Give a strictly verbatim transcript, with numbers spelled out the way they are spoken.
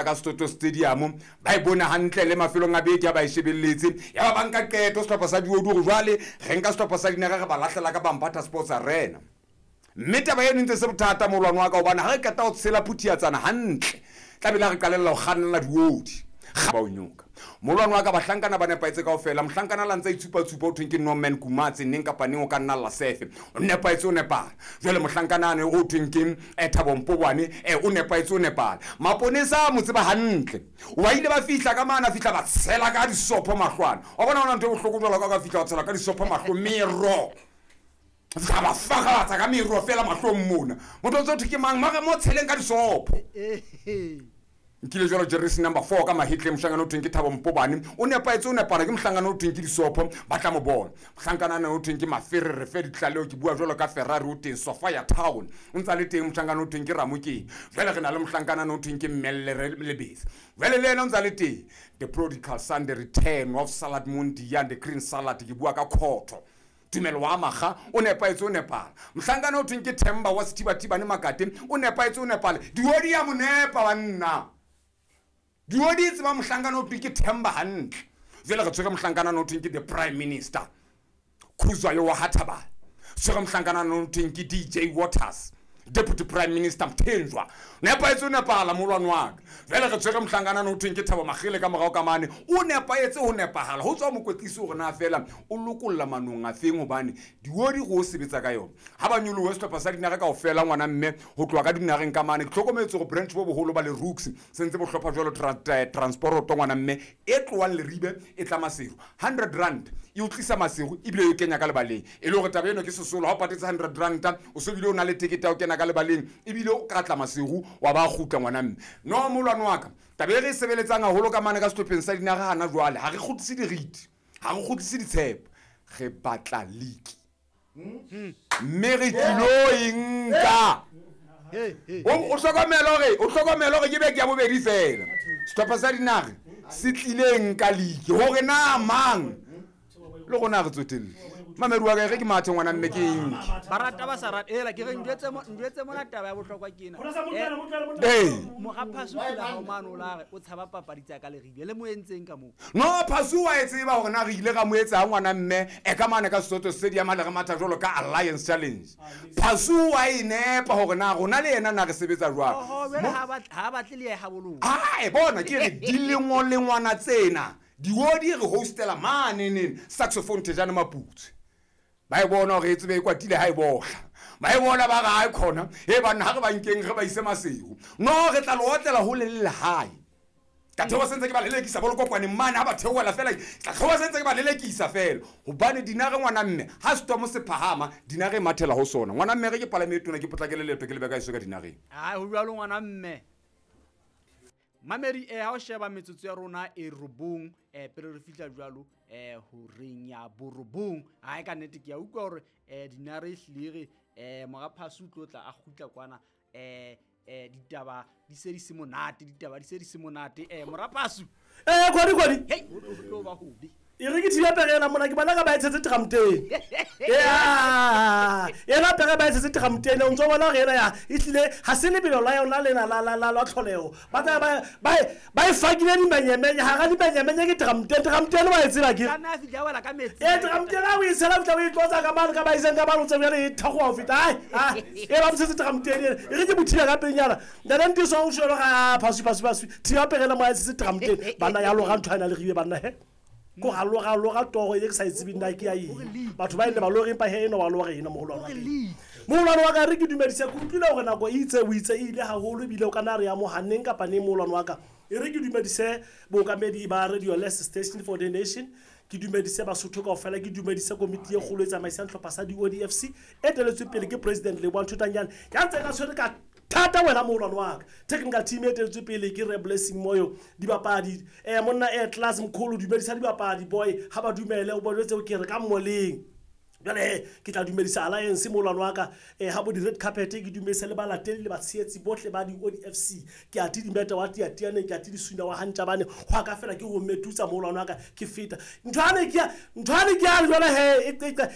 Ka Soto Stadium ba e bone hantle le mafelong a beke a ba e shebelletse. Ya ba ba nka qeto sehlopha sa diodi hore jwale re nka sehlopha sa dinaga re ba lahlela ka Bambata Sports Arena. Mme taba eno e ntse se bothata molwane wa ka, hobane ha re qeta ho tshela phuthiatsana hantle tlamehile ha re qalella ho kgannela diodi ba o nyoka. Molwane wa ka, bahlankana ba nepahetse kaofela. Mohlankana la ntse itshupa-tshupa o thweng ke Norman Kumatse, neng kapa neng o ka nna lla sefe, o nepahetse o nepahala. Jwale mohlankana ane o thweng ke eh, Thabo Mpobwane, eh, o nepahetse o nepahala. Maponesa a mo tseba hantle, wa ile ba fihla ka mane, a fihla ba tshela ka disopho mahlwana. Wa bona hona ntho e bohloko jwalo ka ka fihla wa tshela ka disopho mahlo, mero fihla ba fagalatsa ka mero fela mahlong mona. Motho o ntse o thwe ke mang mare mo tsheleng ka disopho. Nkile jwalo jeresi number four ka mahetleng, mohlankana o thweng ke Thabo Mpobane, o nepahetse o nepana. Ke mohlankana o thweng ke disopho, ba tla mo bona. Mohlankana ana o thweng ke Maferere fe ditlaleo, ke bua jwalo ka Ferrari o teng Sofia Town, o ntsa le teng. Mohlankana o thweng ke Ramokeng. Jwale re na le mohlankana ana o thweng ke Mmelle Lebese, jwale le yena o ntsa le teng. The prodigal son, the return of salad mondia, the green salad, ke bua ka khotho Tumelo wa maga, o nepahetse o nepala. Mohlankana o thweng ke Themba wa Sethibathibane Makate, o nepahetse o nepala. Diodi ya mo nepa banna, diodi e tseba mohlankana o thweng ke Themba hantle. Jwale re tshwere mohlankana o thweng ke the prime minister Khuzwayo wa Hathabala, tshwere mohlankana o thweng ke D J Waters, deputy prime minister Mthenjwa, nepahetse o nepahala molwane wa ka. Jwale re tshwere mohlankana o thweng ke Thabo Magele ka morao ka mane, o nepahetse ho nepahala. Ho tswa mokwetlisi hore na fela o lokolla manong a feng, hobane diodi go o sebetsa ka yona ha ba nyolohe sehlopha sa dinaga kaofela. Ngwana mme, ho tloha ka dinageng ka mane, ke hlokometse hore branch bo boholo ba le Rooks se ntse bo hlopha jwalo tra- transporoto. Ngwana mme, e tlohang Leribe e tla Maseru, hundred rand e o tlisa Maseru ebile e kenya ka lebaleng. E le hore taba eno ke sesolo, ha o patetse hundred ranta o so bile o na le tekete ya ho kena ka lebaleng, ebile o ka tla Maseru wa ba kgutla. Ngwana mme, no molwane wa ka, taba e re e sebeletsang haholo ka mane ka sehlopheng sa dinaga hana jwale, ha re kgutlise diriti, ha re kgutlise ditshepo, re batla league mme re tlilo e nka. O o hlokomele hore o hlokomele hore ke beke ya bobedi fela sehlopha sa dinaga se tlile nka league, hore na mang le rona re tsotelle. Mamedi wa ka, e re ke mathe ngwana mme, ke enke. Ba rata ba sa rata ela ke re njwetse mo njwetse mona. Taba ya bohlokwa ke ena. Ee. Mora Phasu pela hao mane, o la re o tshaba papadi tsa ka Leribe le mo entseng ka moo. No, Phasu wa e tseba hore na re ile ra mo etsa ngwana mme e ka mane ka Sesotho Stadium le re matha jwalo ka Alliance Challenge. Phasu wa e nepa hore na rona le yena na re sebetsa jwang. Oho, jwale ha ba ha batle le ye haboloha. Ae, bona ke re dilengolengwana tsena diodi re hostela maneneng saxophone Thejane Maputswe, ba e bona hore e tsebe e kwatile ha e bohla, ba e bona ba re ha e khona e banna ha re ba nkeng re ba ise Maseru. No, re tla le otlela hole le lehae ka theoha sentse ke ba lelekisa bolokokwaneng mane. Ha ba theohela fela, tla theoha sentse ke ba lelekisa fela, hobane dinare ngwana mme ha setomo se phahama, dinare e mathela ho sona. Ngwana mme, re ke palame e tona, ke potlakele leeto, ke lebe ka eso ka dinareng. Ai, ho jwalo ngwana mme. Mamedi, eh ha o sheba metsotso ya rona e robong, eh pele re fihla jwalo eh horeng ya borobong. Ai, ka nnete ke a utlwa hore eh dinare e hlile re eh mora Phasu o tlo tla a kgutla kwana, eh eh ditaba di se di se monate, ditaba di se di se monate, eh mora Phasu. Ee, kgwadi kgwadi. Hey, ho tlo ba hobe. E re ke thiba pere ena mona, ke bona ka ba e tshetse tramteng ya ena pere, ba e tshetse tramteng. O ntso bona hore ena ya e tlile ha se lebelo la yona lena la la la la tlholeho. Ba tla ba ba ba e fakile dimenyemenye hara dimenyemenye. Ke tramteng, tramteng wa e tseba ke Tlameha a fihla a wela ka metsi. Ee, tramteng ha o e tshela, o tla o e tlotsa ka mane ka ba iseng ka mane, o tse bjale e thagoa ho feta. Ai ai, e ba motshetse tramteng ena. E re ke mo thiba ka pelenyana ntate Ntiso o shwele ga Phasu, Phasu, Phasu, thiba pere ena mo a e tshetse tramteng. Banna ya loga ntho a ena le ribe banna he ko ga loga loga toro e ke sa e tsebeng na ke ya eng. Batho ba ile ba lore, empa he eno ba lore ena. Mogolwane wa ka, mogolwane wa ka, re ke dumedise. Ke utlwile hore nako e itse o itse e ile haholo, ebile o ka na re ya mohaneng kapa neng. Moholwane wa ka, e re ke dumedise bookamedi ba Radio Les, Station for the Nation, ke dumedise Basotho kaofela, ke dumedise komiti e kgolo e tsamaisang tlhopha sa di-O D F C e teletsweng pele ke president Leboang Thotanyane ya ntseng a tshwere ka thata. Wena moholwane wa ka, technical team e teletswe pele ke re Blessing Moyo, dibapadi um monna e class mkholo, dumedisa dibapadi boy ha ba dumele o bonetse ke re ka mmoleng. Jwale he ke tla dumedisa alliance, moholwane wa ka, um ha bo di-red carpet, ke dumedise le balateli le batshehetsi bohle ba di-O D F C. Ke ate dimete wa tiatianeng, ke ate disuna wa hantjabane ho a ka fela ke ho metutsa. Moholwane wa ka, ke feta nthwane ke ya nthwane ke ya jwale he e- e-